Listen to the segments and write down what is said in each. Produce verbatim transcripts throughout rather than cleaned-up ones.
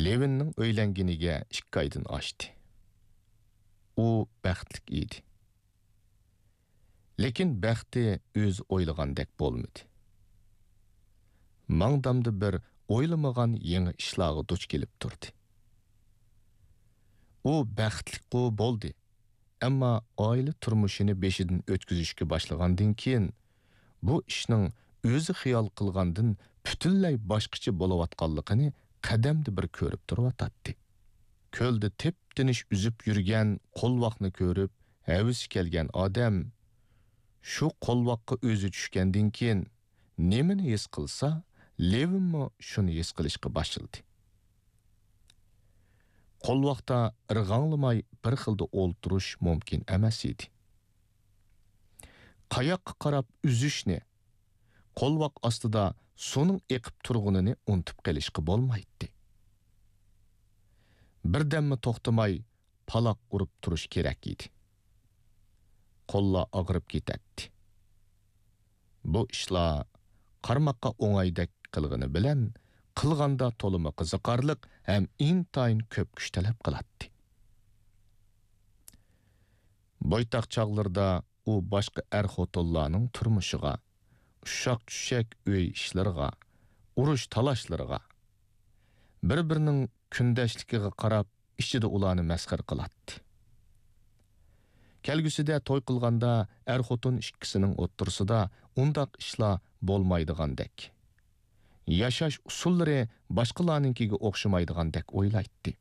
لېۋىننىڭ ئۆيلەنگىنىگە ئىككى ئايدىن ئاشتى. ئۇ بەختلىك ئىدى. لېكىن بەختى ئۆزى ئويلىغاندەك بولمىدى. ماڭدامدا بىر ئويلىمىغان يېڭى ئىشلارغا دۇچ كېلىپ تۇردى. ئۇ بەختلىكقۇ بولدى، ئەمما ئائىلە تۇرمۇشىنى بېشىدىن ئۆتكۈزۈشكە باشلىغاندىن كېيىن، بۇ ئىشنىڭ ئۆزى خىيال قىلغاندىن پۈتۈنلەي باشقىچە بولۇۋاتقانلىقىنى قەدەمدە بىر كۆرۈپ تۇرۇۋاتاتتى. كۆلدە تىپ-تىنچ ئۈزۈپ يۈرگەن قولۋاقنى كۆرۈپ، ھەۋىسى كەلگەن ئادەم شۇ قولۋاققا ئۆزى چۈشكەندىن كېيىن، نېمىنى ھېس قىلسا، لېۋىنمۇ شۇنى ھېس قىلىشقا باشلىدى. قولۋاقتا ئىرغاڭلىماي بىر خىلدا ئولتۇرۇش مۇمكىن ئەمەس ئىدى. قاياققا قاراپ ئۈزۈشنى، قولۋاق ئاستىدا سۇنىڭ ئېقىپ تۇرغىنىنى ئۇنتۇپ قېلىشقا بولمايتتى. بىردەممۇ توختىماي پالاق ئۇرۇپ تۇرۇش كېرەك ئىدى. قوللار ئاغرىپ كېتەتتى. بۇ ئىشلار قارىماققا ئوڭايدەك قىلغىنى بىلەن، قىلغاندا تولىمۇ قىزىقارلىق ھەم ئىنتايىن كۆپ كۈچ تەلەپ قىلاتتى. بويتاق چاغلىرىدا ئۇ باشقا ئەر-خوتۇنلارنىڭ تۇرمۇشىغا، ئۇششاق-چۈششەك ئۆي ئىشلىرىغا، ئۇرۇش-تالاشلىرىغا، بىر-بىرىنىڭ كۈندەشلىكىگە قاراپ، ئىچىدە ئۇلارنى مەسخىرە قىلاتتى. كەلگۈسىدە توي قىلغاندا ئەر-خوتۇن ئىككىسىنىڭ ئوتتۇرىسىدا ئۇنداق ئىشلار بولمايدىغاندەك، ياشاش ئۇسۇللىرى باشقىلارنىڭكىگە ئوخشىمايدىغاندەك ئويلايتتى.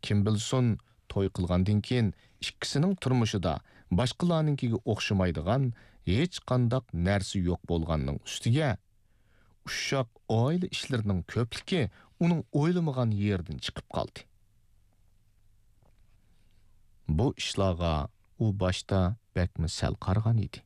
كىم بىلسۇن، توي قىلغاندىن كېيىن ئىككىسىنىڭ تۇرمۇشىدا باشقىلارنىڭكىگە ئوخشىمايدىغان ھېچقانداق نەرسە يوق بولغاننىڭ ئۈستىگە، ئۇششاق ئائىلە ئىشلىرىنىڭ كۆپلۈكى ئۇنىڭ ئويلىمىغان يېرىدىن چىقىپ قالدى. بۇ ئىشلارغا ئۇ باشتا بەكمۇ سەل قارىغان ئىدى.